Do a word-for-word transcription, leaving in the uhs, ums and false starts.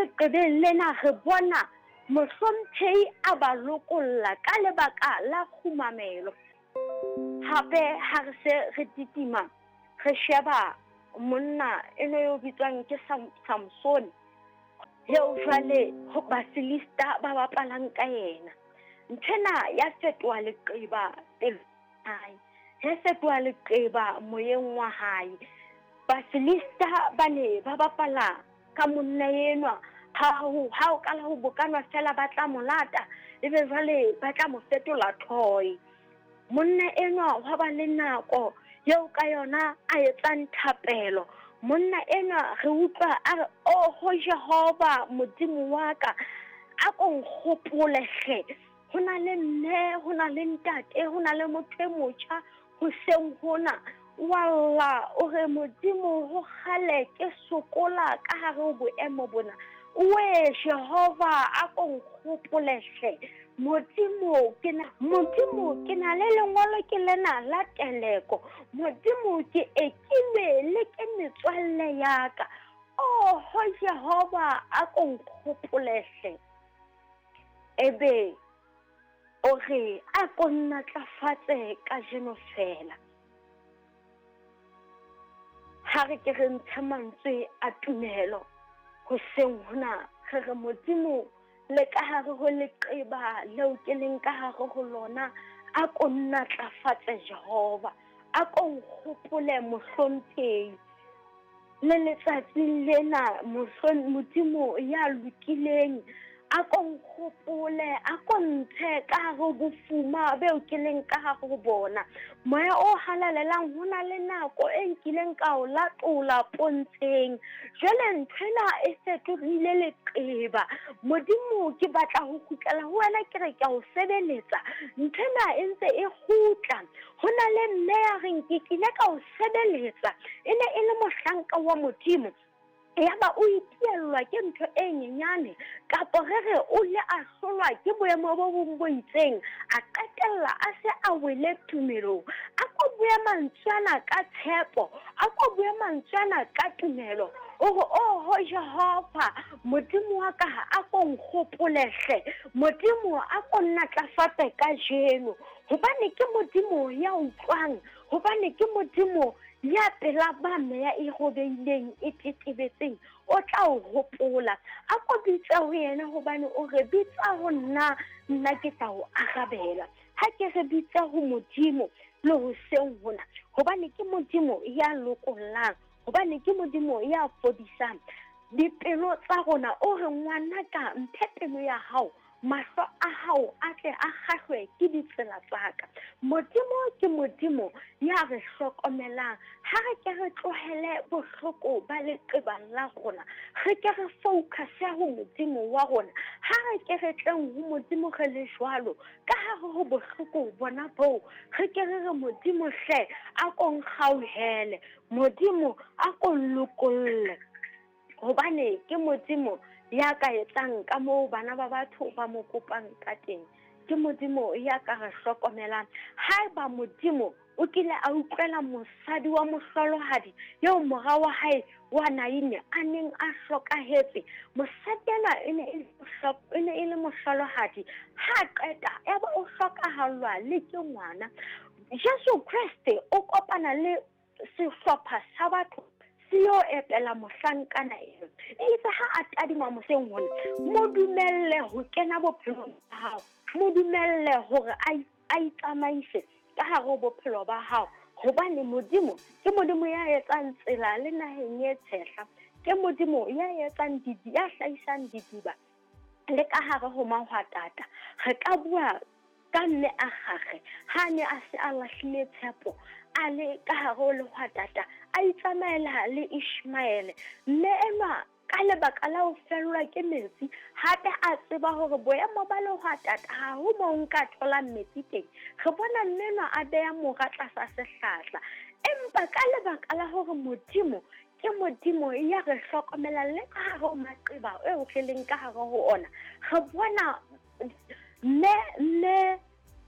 Leqebeng lena re bona mohlomphehi a ba lokolla ka lebaka la kgumamelo. Hape ha re se re titima re sheba monna eno yo bitswang ke Sam, Samson, eo jwale ho Bafilista ba bapalang ka yena. Nthwena ya fetoha leqeba pelo hae, ya fetoha leqeba moyeng wa hae. Bafilista ba ne ba bapala ka monna enwa, ha ho ha o kala ho bokanwa fela ba tla mo lata, ebe jwale ba tla mo fetola toy. Monna enwa wa ba le nako eo ka yona a etsang thapelo. Monna enwa re utlwa a re, oho Jehova Modimo wa ka, a ko nkgopole hle. Ho na le mme, ho na le ntate, ho na le motho e motjha hoseng hona. Walla, o re Modimo ho kgale ke sokola ka hare ho boemo bona. We Jehova a ko nkgopole hle. Modimo ke na, Modimo ke na le lengolo ke lena la teleko. Modimo ke ekilwe le ke metswalle ya ka. Oho Jehova a ko nkgopole hle. Ebe o re a ko nnatlafatse kajeno fela. Ha re ke re ntshe mantswe a tumelo hoseng hona, re re Modimo le ka hare ho leqeba leo ke leng ka hare ho lona, a ko nnatlafatse Jehova, a ko nkgopole mohlomphehi. Le letsatsing lena mohlom-, Modimo ya lokileng, a ko nkgopole, a ko ntshe ka hare ho bofuma beo ke leng ka hare ho bona. Moya o halalelang, ho na le nako e nkileng ka o latola pontsheng. Jwale nthwena e fetohile leqeba. Modimo ke batla ho kgutlela ho wena, ke re ke a o sebeletsa. Nthwena e ntse e kgutla. Ho na le mme ya reng ke kile ka o sebeletsa, e ne e le mohlanka wa Modimo. Yaba o itiellwa ke ntho e nyenyane, kapa re re o le a hlolwa ke boemo bo bong bo itseng, a qetella a se a wele tumelong. A ko bue mantswe ana ka tshepo, a ko bue mantswe ana ka tumelo. O re, oho Jehova Modimo wa ka, a ko nkgopole hle. Modimo a ko nnatlafatse kajeno, hobane ke Modimo ya utlwang, hobane ke Modimo ya pela ba meya e robehileng, e tetebetseng, o tla o hopola. A ko bitse ho yena, hobane o re bitsa ho nna, nna ke tla o arabela. Ha ke re bitse ho Modimo le hoseng hona, hobane ke Modimo ya lokollang, hobane ke Modimo ya fodisang dipelo tsa rona. O re, ngwanaka, mphe pelo ya hao, mahlo a hao a tle a kgahlwe ke ditsela tsa ka. Modimo ke Modimo ya re hlokomelang. Ha re ke re tlohele bohloko ba leqeba la rona, re ke re focus-e ho Modimo wa rona. Ha re ke re tleng ho Modimo re le jwalo, ka hare ho bohloko bona boo, re ke re re Modimo hle a ko nkgauhele, Modimo a ko nlokolle, hobane ke Modimo ya ka etsang ka moo bana ba batho ba mo kopang ka teng. Ke Modimo ya ka re hlokomelang. Haeba Modimo o kile a utlwela mosadi wa mohlolohadi eo mora wa hae wa Naine a neng a hlokahetse, mosadi enwa e ne e le mohlo-, e ne e le mohlolohadi, ha qeta ya ba o hlokahallwa le ke ngwana. Jesu Kreste o kopana le sehlopha sa batho se yo epela mohlankana eo. Eitse ha a tadima moseng hona, mo dumelle ho kena bophelong ba hao, mo dumelle hore a i-, a itsamaise ka hare ho bophelo ba hao, hobane Modimo ke Modimo ya etsang tsela le naheng e tshehla, ke Modimo ya etsang didi, ya hlahisang didiba le ka hare ho mahwatata. Re ka bua ka mme a gagwe ha ne a se a lahlile tshepo, a le ka hare ho lehwatata, a itsamaela le Ishmaele. Mme enwa ka lebaka la ho fellwa ke metsi, hape a tseba hore boemo ba lehwatata ha ho moo nka tholang metsi teng. Re bona mme enwa a beha mora tlasa sehlahla, empa ka lebaka la hore Modimo ke Modimo ya re hlokomelang le ka hare ho maqeba eo re leng ka hare ho ona, re bona mme, mme